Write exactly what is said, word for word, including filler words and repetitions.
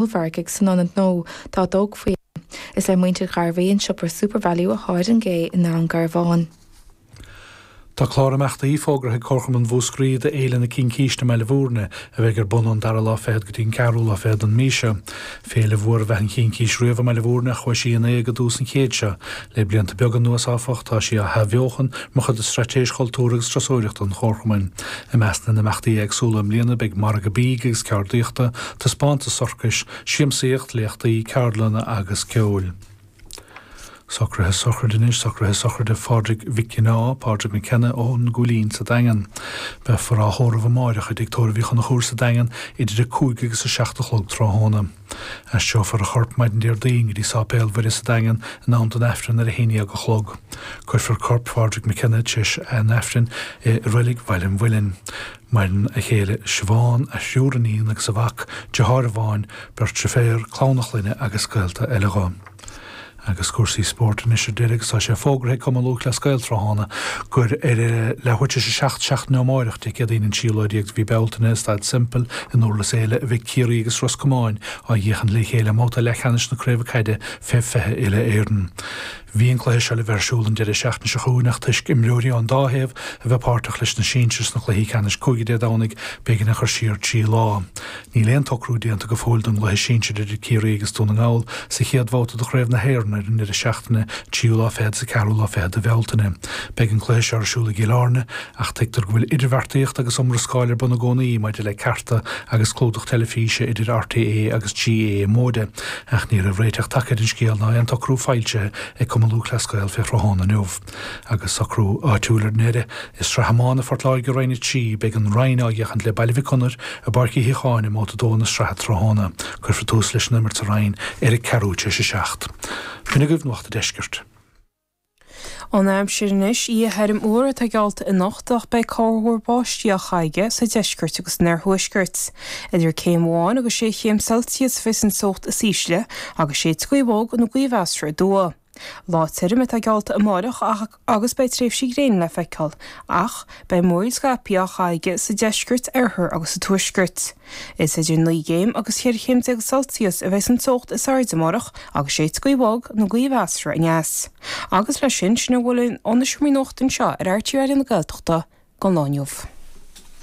ollmhargaidh san ionad nó dá dtógfaí é. Is le muintir Ghairbhí an siopa SuperValu atá ar an gcé i nDún Garbhán. Tá clár imeachtaí fógartha ag Comharchumann Mhúscraí do Fhéile na Cincíste i mBaile Bhúirne a bheidh ar bun ón dara lá fichead go dtí an ceathrú lá fichead den mhí seo. Féile mhór ab ea an Chincís riamh i mBaile Bhúirne ach chuaigh sí in éag i dtús an chéid seo. Le blianta beaga anuas áfach tá sí á hathbheochan mar chuid de straitéis chultúir agus turasóireachta an Chomharchumainn. I measc na n-imeachtaí éagsúla i mbliana beidh margadh bídh agus ceardaíochta, taispeántas sorcais, siamsaíocht, léachtaí, ceardlanna agus ceoil. Socruithe sochraide anois, socruithe sochraide Phádraig Mhic Cionnáith, Pádraig McKenna ón gCúilín sa Daingean. Beifear á thórramh amáireach i dTigh Tórraimh Uí Chonchúir sa Daingean idir a cúig agus a seacht a chlog tráthnóna. Aistreofar a chorp maidin Déardaoin go dtí Sáipéal Mhuire sa Daingean in am don Aifreann ar a haon dhéag a chlog. Cuirfear corp Phádraig McKenna tar éis an Aifrinn i Reilig Bhaile an Mhuilinn. Maireann a chéile Siobhán, a thriúr iníon agus a mhac, deartháir amháin, beirt deirféar, clann a chlainne agus gaolta eile dho. Agus cúrsaí spóirt anois ar deireadh agus tá sé fógartha ag Cumann Lúthchleas Gael tráthnóna gur ar leathuair tar éis a seacht seachtaine ó amárach Dé Céadaoin an tríú lá déag de mhí Bealtaine i Staid Semple in Durlas Éile a bheidh Ciarraí agus Ros Comáin á bhféachaint le chéile i mbabhta leathcheannais na Craoibhe Caide fé fiche Uile-Éireann. Bhí an cluiche seo le bheith ar siúl an deireadh seachtaine seo chugainn ach toisc imreoirí ón dá thaobh a bheith páirteach leis na sinsir sna cluichí ceannais cúige Dé Domhnaigh b'éigean é a chur siar trí lá. Níl aon tsocrú déanta go fóill don gcluiche sinsir idir Ciarraí agus Dún na nGall sa chéad bhabhta de Chraobh na hÉireann ar an ndeireadh seachtaine tríú lá fichead is ceathrú lá fichead de Bhealtaine. Beidh an cluiche seo ar siúl i gCill Airne ach tuigtear go bhfuil idirbheartaíocht agus iomrascáil ar bun i gcónaí maidir le cearta agus clúdach teilifíse idir RTÉ agus GAA Móide ach ní raibh réiteach tagtha ar an scéal ná aon tsocrú foilsithe ag Cumann Lúthchleas Gael fé thráthnóna inniu. Agus socrú áitiúil ar ndeireadh, i Sraith Iomána Phort Láirge Roinn a trí, beidh an Rinn á bhféachaint le Baile Mhic Gonair i bPáirc Uí Shíocháin i mbabhta a dó na sraithe tráthnóna. Cuirfear tús leis an imirt sa Rinn ar a ceathrú tar éis a seacht. B'in agaibh Nuacht an Deiscirt. An aimsir anois, oíche thirim fhuar atá geallta anocht ach beidh corrmhúr báistí á chaitheamh sa deisceart agus san oirthuaisceart. Idir céim amháin agus sé chéim Celsius a bheas an teocht is ísle agus séidfidh gaoth bhog nó gaoth mheasartha aduaidh. Lá tirim atá geallta amárach agus beidh tréimhsí gréine le feiceáil ach beidh múraíl scaipthe á chaitheamh sa deisceart, oirthear agus sa tuaisceart. Is idir naoi gcéim agus cheithre chéim déag Celsius a bheas an teocht is airde amárach agus séidfidh gaoth bhog nó gaoth mheasartha aneas. Agus leis sin, sin a bhfuil ó na seomraí nuachta anseo ar RTÉ Raidió na Gaeltachta don lá inniu.